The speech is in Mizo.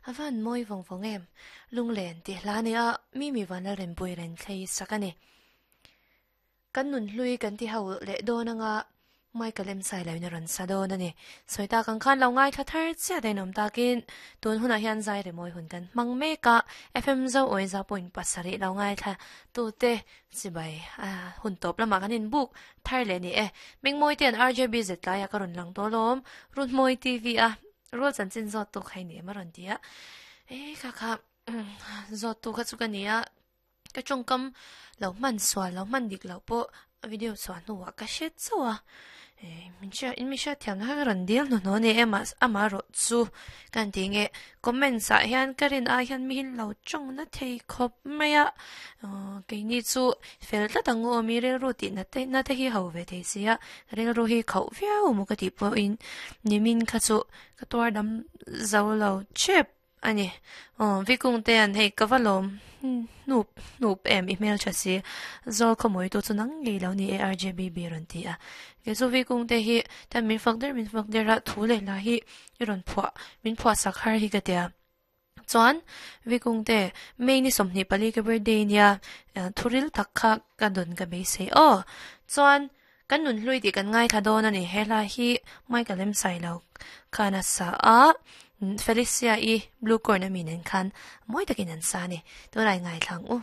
A van mawi vawng vawng em? Lunglen tih hla nia Mimi Vanlalrempui Renthlei sak a ni. Kan nun hlui kan ti ho leh dawn anga Michael em sai loin a rawn sa dawn a ni. Sawi tak ang khan lo ngaithla thar chiah dain awm takin tun hunah hian zai remawi hun kan hmang mek a, FM Zo Awiza point pasarih lo ngaithla tute chibai a hun tawp lamah kan inbuk thar leh ni e. Mengmawi te an RJB zet tlaiah ka rawn lang tawh alawm, Runmawi TV a rual chanchin zawt tu kha i ni em a rawn ti a, e kha kha zawt tu kha chu ka ni a. Ka tawngkam lo hman sual lo hman dik loh pawh a video chhuah hnuah ka hre chauh a eh min hriat in mi hriat thiam na kha ka rawn dil hnuhnawh a ni em a amaherawh chu ka han tih nge comments ah hian ka rin ai hian mi hi lo tawng na thei khawp mai a ahh keini chu fel tlat ang u aw mi rilru tih na te na te hi ho ve thei si a rilru hi khauh viau maw ka tih pawhin nimin kha chu ka tuar dam zo lo tep. A ni. Aw, Vikung te an hei ka va lawm hnup hnup em i hmel tha si. Zawl khawmawitu chu nang ngei lo ni e RJBB rawn ti a. Kei chu Vikung te hi tan min fak der min fak der a thu leh hla hi i rawn phuah min phuah sak har hi ka tia. Chuan Vikung te May ni 24 ka birthday nia thuril tak kha ka dawn ka beisei aw. Chuan kan nun hlui tih kan ngaithla dawn a ni. He hla hi Michael em sai lo khan a sa a, Felicia i Blue Corn a mi nen khan mawi takin an sa a ni. Tunah i ngaithla ang u.